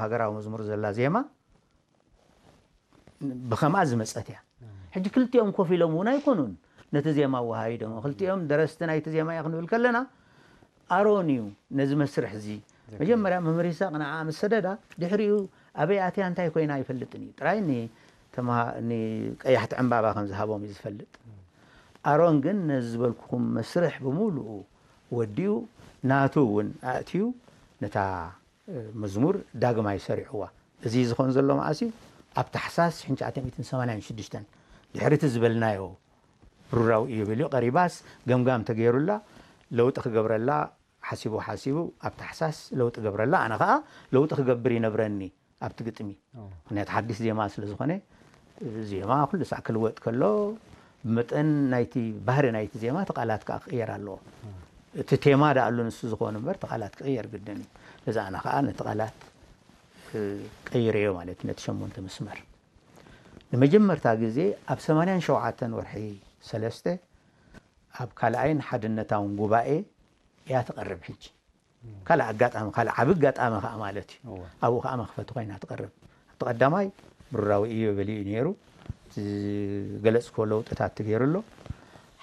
ሃገራዊ መዝሙር ዘላ ዜማ ብኸምኣ ዝመጸት እያ። ሕጂ ክልቲኦም ኮፍ ኢሎም እውን ኣይኮኑን ነቲ ዜማ ኣወሃሂዶም። ክልቲኦም ደረስቲ ናይቲ ዜማ እየ ክንብል ከለና፣ ኣሮን እዩ ነዚ መስርሕ እዚ መጀመርያ መምህር ይስሐቅ ንዓ ምስ ሰደዳ፣ ድሕሪኡ ኣበይ ኣትያ እንታይ ኮይና ኣይፈልጥን እዩ። ጥራይ ን-፣ ተምሃ-፣ ንቀያሕቲ ዕምባባ ከም ዝሃቦም እዩ ዝፈልጥ። ኣሮን ግን ነዚ ዝበልኩኹም መስርሕ ብምሉኡ ወዲኡ፣ ናቱ እውን ኣእትዩ ነታ መዝሙር ዳግማይ ሰሪዕዋ። እዚ ዝኾን ዘሎ መዓስ እዩ? ኣብ ታሕሳስ ሽሕን ትሽዓተ ሚእትን ሰማንያን ሽዱሽተን፣ ድሕሪ እቲ ዝበልናዮ ብሩራዊ ኢዮቤልዩ ቀሪባስ፣ ገምጋም ተገይሩላ፣ ለውጢ ክገብረላ ሓሲቡ ሓሲቡ፣ ኣብ ታሕሳስ ለውጢ ገብረላ። ኣነ ኸኣ ለውጢ ክገብር ይነብረኒ ኣብቲ ግጥሚ። ምኽንያቱ ሓድሽ ዜማ ስለ ዝኾነ፣ ዜማ ኩሉ ሳዕ ክልወጥ ከሎ፣ ብመጠን ናይቲ ባህሪ ናይቲ ዜማ እቲ ቃላት ከኣ ክቕየር ኣለዎ። እቲ ቴማ ደኣ ኣሉ ንሱ ዝኾነ እምበር፣ እቲ ቃላት ክቕየር ግድን እዩ። ነዚ ኣነ ከኣ ነቲ ቃላት፣ እ፣ ቀይረዮ ማለት እዩ፣ ነቲ ሸሞንተ መስመር። ንመጀመርታ ግዜ ኣብ ሰማንያን ሸውዓተን ወርሒ ሰለስተ ኣብ ካልኣይን ሓድነታውን ጉባኤ እያ ትቐርብ። ሕጂ ካልእ ኣጋጣሚ፣ ካልእ ዓቢ ኣጋጣሚ ከኣ ማለት እዩ። እወ። ኣብኡ ከኣ መኽፈቲ ኮይና ትቐርብ። ኣብቲ ቀዳማይ ብሩራዊ ኢዮቤልዩ እዩ ነይሩ። እቲ ዝገለጽክዎ ለውጥታት ተገይሩ ኣሎ።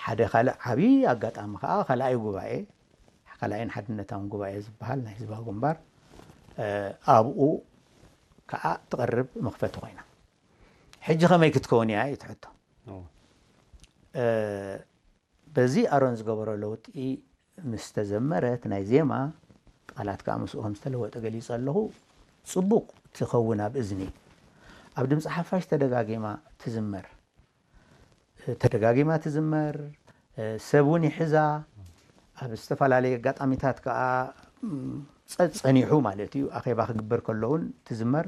ሓደ ካልእ ዓቢ ኣጋጣሚ ከኣ ካልኣይ ጉባኤ፣ ካልኣይን ሓድነታውን ጉባኤ ዝበሃል ናይ ህዝባዊ ግንባር፣ እ፣ ኣብኡ ከኣ ትቐርብ መኽፈቲ ኮይና። ሕጂ ከመይ ክትከውን እያ እዩ እቲ ሕቶ። እወ። እ፣ በዚ ኣሮን ዝገበሮ ለውጢ ምስ ተዘመረ፣ እቲ ናይ ዜማ ቃላት ከኣ ምስኡ ከም ዝተለወጠ ገሊጸ ኣለኹ። ጽቡቕ ትኸውን ኣብ እዝኒ። ኣብ ድምጺ ሓፋሽ ተደጋጊማ ትዝመር። ተደጋጊማ ትዝመር፣ ሰብ እውን ይሕዛ። ኣብ ዝተፈላለየ ኣጋጣሚታት ከኣ፣ ም፣ ጸ-፣ ጸኒሑ ማለት እዩ። ኣኼባ ክግበር ከሎ እውን ትዝመር።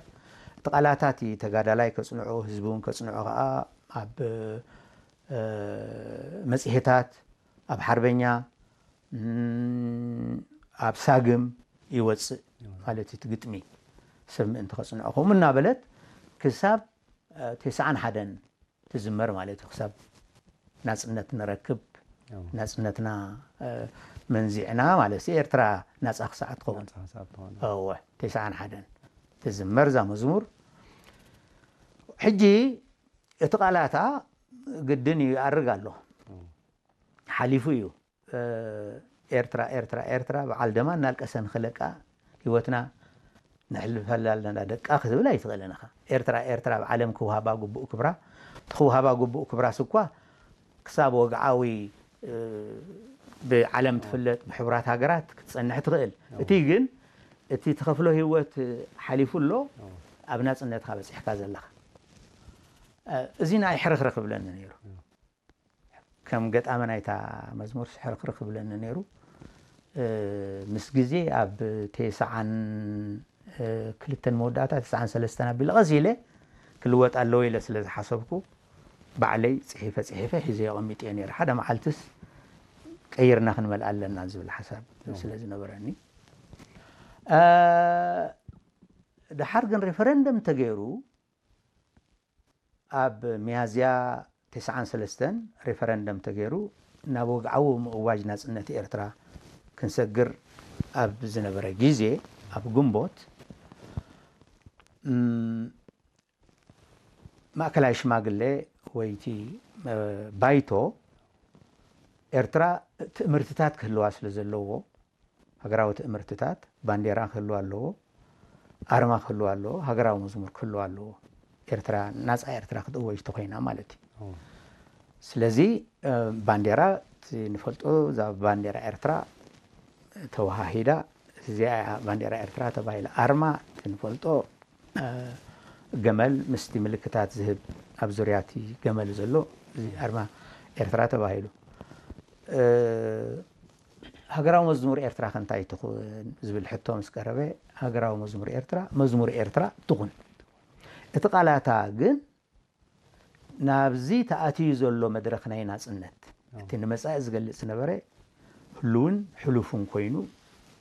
እቲ ቃላታት እዩ ተጋዳላይ ከጽንዖ፣ ህዝቢ እውን ከጽንዖ ከኣ ኣብ፣ እ፣ መጽሔታት፣ ኣብ ሓርበኛ፣ ም፣ ኣብ ሳግም ይወጽእ ማለት እዩ። እቲ ግጥሚ ሰብ ምእንቲ ከጽንዖ። ከምኡ እናበለት ክሳብ፣ እ፣ ተስዓን ሓደን ትዝመር ማለት እዩ። ክሳብ ናጽነት ንረክብ፣ እዎ። ናጽነትና፣ እ፣ መንዚዕና ማለት እዩ። ኤርትራ ናጻ ክሳዕ ትኸውን። ናጻ ክሳዕ ትኸውን። እወ፣ ተስዓን ሓደን ትዝመር እዛ መዝሙር። ሕጂ እቲ ቃላታ ግድን እዩ፣ ይኣርግ ኣሎ። እዎ። ሓሊፉ እዩ። እ፣ ኤርትራ፣ ኤርትራ፣ ኤርትራ በዓል ደማ እናልቀሰ ንኽለቃ ህይወትና ነሕልፈላ ኣለና ደቃ ክትብል ኣይትኽእልን ኢኻ። ኤርትራ፣ ኤርትራ ኣብ ዓለም ክውሃባ ግቡእ ክብራ፣ ትኽውሃባ ግቡእ ክብራስ እኳ ክሳብ ወግዓዊ፣ እ፣ ብዓለም ትፍለጥ፣ ብሕቡራት ሃገራት ክትጸንሕ ትኽእል። እዎ። እቲ ግን እቲ ትኸፍሎ ህይወት ሓሊፉ ኣሎ፣ እዎ። ኣብ ናጽነትካ በጺሕካ ዘለኻ። እ፣ እዚ ንዓይ ሕርኽርኽ ይብለኒ ነይሩ። እዎ። ከም ገጣሚ ናይታ መዝሙር ሕርኽርኽ ይብለኒ ነይሩ። እ፣ ምስ ግዜ ኣብ ተስዓን፣ እ፣ ክልተን መወዳእታ ተስዓን ሰለስተን ኣቢለ ቀስ ኢለ ክልወጥ ኣለዎ ኢለ ስለ ዝሓሰብኩ፣ ባዕለይ ጽሒፈ ጽሒፈ ሒዘዮ ኣቐሚጠዮ ነይረ። ሓደ መዓልትስ ቀይርና ክንመልኣ ኣለና ዝብል ሓሳብ እዎ። ስለ ዝነበረኒ። እ፣ ደሓር ግን ሬፈረንደም ተገይሩ፣ ኣብ ሚያዝያ ተስዓን ሰለስተን ሬፈረንደም ተገይሩ፣ ናብ ወግዓዊ ምእዋጅ ናጽነት ኤርትራ ክንሰግር ኣብ ዝነበረ ግዜ፣ ኣብ ግንቦት፣ እም፣ ማእከላይ ሽማግለ ወይ እቲ፣ እ፣ ባይቶ፣ ኤርትራ ትእምርትታት ክህልዋ ስለ ዘለዎ፣ ሃገራዊ ትእምርትታት፣ ባንዴራ ክህልዋ ኣለዎ፣ ኣርማ ክህልዋ ኣለዎ፣ ሃገራዊ መዝሙር ክህልዋ ኣለዎ። ኤርትራ፣ ናጻ ኤርትራ ክትእወጅ ተኾይና ማለት እዩ። እዎ። ስለዚ፣ እ፣ ባንዴራ፣ እቲ ንፈልጦ፣ እዛ ባንዴራ ኤርትራ ተወሃሂዳ፣ እዚኣ እያ ባንዴራ ኤርትራ ተባሂላ። ኣርማ፣ እቲ ንፈልጦ፣ እ፣ ገመል ምስቲ ምልክታት ዝህብ ኣብ ዙርያ እቲ ገመል ዘሎ፣ እዚ ኣርማ ኤርትራ ተባሂሉ። እ፣ ሃገራዊ መዝሙር ኤርትራ ከ እንታይ ትኹን ዝብል ሕቶ ምስ ቀረበ፣ ሃገራዊ መዝሙር ኤርትራ መዝሙር ኤርትራ ትኹን። እቲ ቃላታ ግን ናብዚ ተኣትዩ ዘሎ መድረኽ ናይ ናጽነት፣ እዎ። እቲ ንመጻኢ ዝገልጽ ዝነበረ ህሉውን ሕሉፍን ኮይኑ፣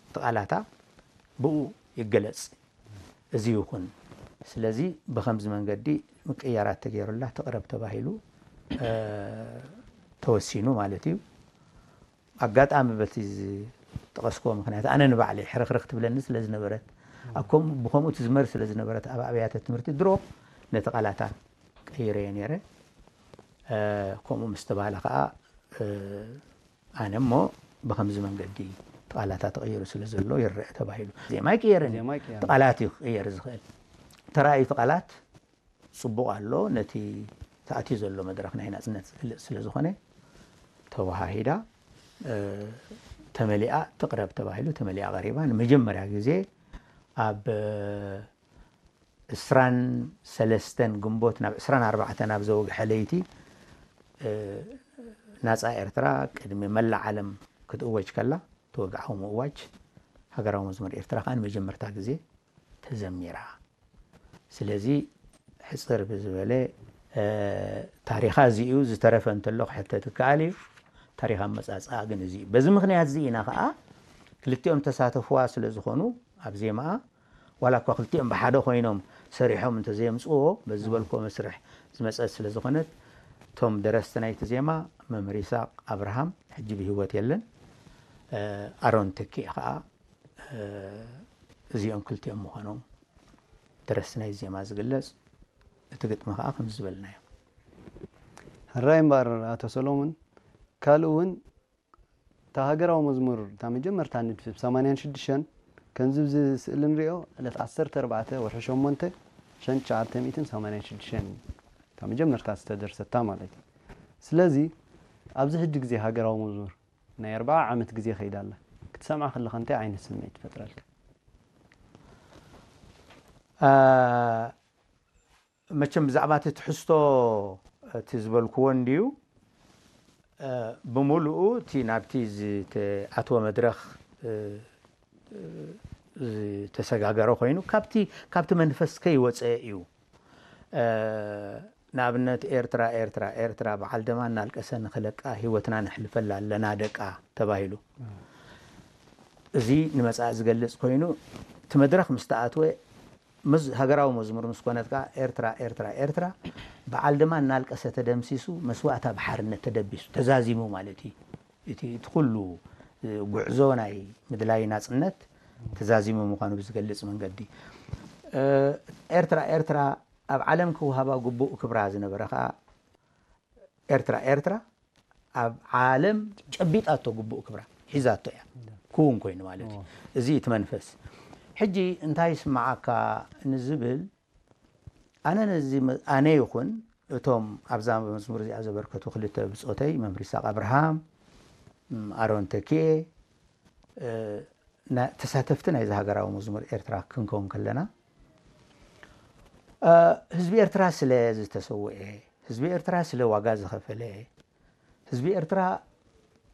እቲ ቃላታ ብኡ ይገለጽ። እዚ ይኹን። ስለዚ ብኸምዚ መንገዲ ምቅያራት ተገይሩላ ትቕረብ ተባሂሉ፣ እ፣ ተወሲኑ ማለት እዩ። ኣጋጣሚ በቲ ዝጠቐስክዎ ምኽንያት ኣነ ንባዕለይ ሕርኽርኽ ትብለኒ ስለ ዝነበረት፣ ኣብ ከም ብከምኡ ትዝመር ስለ ዝነበረት ኣብ ኣብያተ ትምህርቲ ድሮ ነቲ ቃላታ ቀይረዮ ነይረ። ከምኡ ምስ ተባህለ ከዓ ኣነ እሞ ብከምዚ መንገዲ እቲ ቃላታ ተቐይሩ ስለ ዘሎ ይረአ ተባሂሉ። ዜማ ኣይቅየርን እዩ። ቃላት እዩ ክቕየር ዝኽእል። ተራእዩ እቲ ቃላት ጽቡቕ ኣሎ። ነቲ ተኣትዩ ዘሎ መድረኽ ናይ ናጽነት ዝገልጽ ስለ ዝኾነ ተወሃሂዳ ተመሊኣ ትቕረብ ተባሂሉ ተመሊኣ ቀሪባ ንመጀመርያ ግዜ ኣብ ዕስራን ሰለስተን ግንቦት ናብ ዕስራን ኣርባዕተን ኣብ ዘወግሐ ለይቲ ናፃ ኤርትራ ቅድሚ መላእ ዓለም ክትእወጅ ከላ ተወግዓዊ ምእዋጅ ሃገራዊ መዝሙር ኤርትራ ከዓ ንመጀመርታ ግዜ ተዘሚራ። ስለዚ ሕፅር ብዝበለ ታሪኻ እዚ እዩ። ዝተረፈ እንተሎ ክሕተት ይከኣል እዩ። ታሪኽ ኣመፃፅኣ ግን እዚ እዩ። በዚ ምክንያት እዚ ኢና ከዓ ክልቲኦም ተሳተፍዋ ስለ ዝኾኑ ኣብ ዜማኣ ዋላ እኳ ክልቲኦም ብሓደ ኮይኖም ሰሪሖም እንተዘየምፅዎ በዚ ዝበልክዎ መስርሕ ዝመፀት ስለ ዝኾነት እቶም ደረስቲ ናይቲ ዜማ መምህር ይስሐቅ ኣብርሃም ሕጂ ብህይወት የለን። ኣሮን ተኪኤ ከዓ እዚኦም ክልቲኦም ምዃኖም ደረስቲ ናይ ዜማ ዝግለጽ። እቲ ግጥሚ ከዓ ከም ዝበልናዮ ሕራይ እምበኣር ኣቶ ሰሎሙን ካልእ እውን እታ ሃገራዊ መዝሙር እታ መጀመርታ ንድፊ ብ ሰማንያን ሽዱሽተን ከምዚ ብዚ ስእሊ ንሪኦ ዕለት ዓሰርተ ኣርባዕተ ወርሒ ሸሞንተ ሸን ትሽዓተ ሚእትን ሰማንያን ሽዱሽተን እዩ እታ መጀመርታ ዝተደርሰታ ማለት እዩ። ስለዚ ኣብዚ ሕጂ ግዜ ሃገራዊ መዝሙር ናይ ኣርብዓ ዓመት ግዜ ከይዳ ኣላ ክትሰምዓ ከለኻ እንታይ ዓይነት ስምዒት ትፈጥረልካ? መቸም ብዛዕባ እቲ ትሕዝቶ እቲ ዝበልክዎ እንድዩ ብምሉኡ እቲ ናብቲ ዝተኣትወ መድረኽ ዝተሰጋገረ ኮይኑ ካብቲ መንፈስ ከይወፀ እዩ። ንኣብነት ኤርትራ ኤርትራ ኤርትራ በዓል ደማ እናልቀሰ ንኽለቃ ህይወትና ነሕልፈላ ኣለና ደቃ ተባሂሉ። እዚ ንመጻኢ ዝገልጽ ኮይኑ እቲ መድረኽ ምስ ተኣትወ ሃገራዊ መዝሙር ምስ ኮነት ከኣ ኤርትራ ኤርትራ ኤርትራ በዓል ደማ እናልቀሰ ተደምሲሱ መስዋእታ ብሓርነት ተደቢሱ ተዛዚሙ ማለት እዩ። እቲ እቲ ኩሉ ጉዕዞ ናይ ምድላይ ናጽነት ተዛዚሙ ምዃኑ ብዝገልጽ መንገዲ ኤርትራ ኤርትራ ኣብ ዓለም ክወሃባ ግቡእ ክብራ ዝነበረ ከኣ ኤርትራ ኤርትራ ኣብ ዓለም ጨቢጣቶ ግቡእ ክብራ ሒዛቶ እያ ክውን ኮይኑ ማለት እዩ። እዚ እቲ መንፈስ ሕጂ እንታይ ይስምዓካ ንዝብል ኣነ ነዚ ኣነ ይኹን እቶም ኣብዛ መዝሙር እዚኣ ዘበርከቱ ክልተ ብጾተይ መምህር ይስሐቅ ኣብርሃም ኣሮን ተኪኤ ተሳተፍቲ ናይዚ ሃገራዊ መዝሙር ኤርትራ ክንከውን ከለና ህዝቢ ኤርትራ ስለ ዝተሰውኤ ህዝቢ ኤርትራ ስለ ዋጋ ዝኸፈለ ህዝቢ ኤርትራ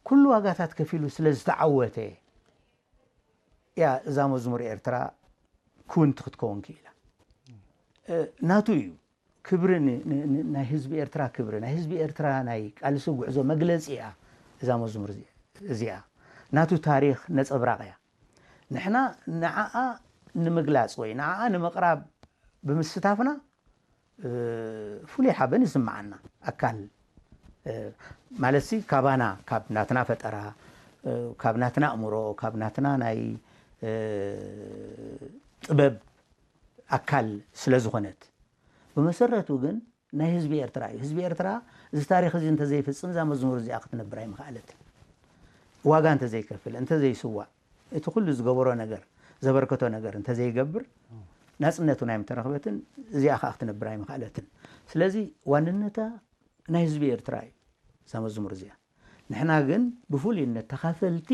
ኩሉ ዋጋታት ከፊሉ ስለ ዝተዓወተ እያ እዛ መዝሙር ኤርትራ ክውንቲ ክትከውን ክኢላ። ናቱ እዩ ክብሪ ናይ ህዝቢ ኤርትራ ክብሪ ናይ ህዝቢ ኤርትራ ናይ ቃልሲ ጉዕዞ መግለፂ እያ እዛ መዝሙር እዚኣ ናቱ ታሪክ ነፀብራቅ እያ። ንሕና ንዓኣ ንምግላፅ ወይ ንዓኣ ንምቕራብ ብምስታፍና ፍሉይ ሓበን ይስምዓና። ኣካል ማለት ሲ ካባና ካብ ናትና ፈጠራ ካብ ናትና ኣእምሮ ካብ ናትና ናይ ጥበብ ኣካል ስለ ዝኾነት ብመሰረቱ ግን ናይ ህዝቢ ኤርትራ እዩ። ህዝቢ ኤርትራ እዚ ታሪክ እዚ እንተዘይፍፅም እዛ መዝሙር እዚኣ ክትነብር ኣይምኽኣለትን። ዋጋ እንተዘይከፍል እንተዘይስዋእ እቲ ኩሉ ዝገበሮ ነገር ዘበርከቶ ነገር እንተዘይገብር ናፅነቱ ናይ ምተረኽበትን እዚኣ ከዓ ክትነብር ኣይምኽኣለትን። ስለዚ ዋንነታ ናይ ህዝቢ ኤርትራ እዩ እዛ መዝሙር እዚኣ። ንሕና ግን ብፍሉይነት ተኻፈልቲ